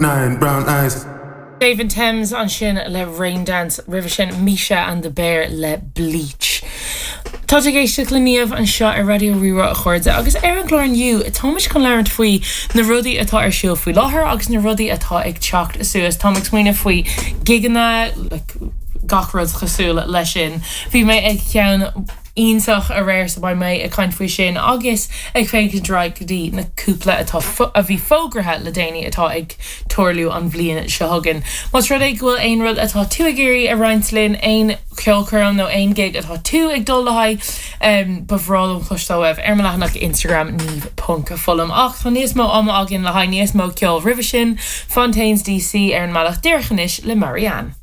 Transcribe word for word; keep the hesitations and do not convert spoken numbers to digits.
nine brown eyes. David Thames ansin le Raindance roimhe sin Misha and the Bear le Bleach. Tá ag éisteacht le Niamh anseo ar Raidió Rí-Rá a chairde agus ar an gclár inniu táimid chun labhairt faoi na rudaí atá ar siúl faoi láthair agus na rudaí atá ag teacht suas Tá ag smaoineamh faoi gigeanna like, gach rud cosúil leis sin. Bhí mé ag ceann iontach aréir so beidh mé ag caint faoi sin agus ag féachaint go dtí na cúpla atá a bhí fógartha le déanaí atá ag tarlú an bhliain seo chugainn. Más rud é go bhfuil aon rud atá tú ag iarraidh a roinnt linn aon cheolchoirm nó aon gig atá tú ag dul le haghaidh um, ba bhreá liom cloisteáil uaibh ar mo leathanach Instagram Niamh ponc Fullam ach tá níos mó ama againn le haghaidh níos mó ceol roimhe sin Fontaines DC ar an mbealach díreach anois le Marianne.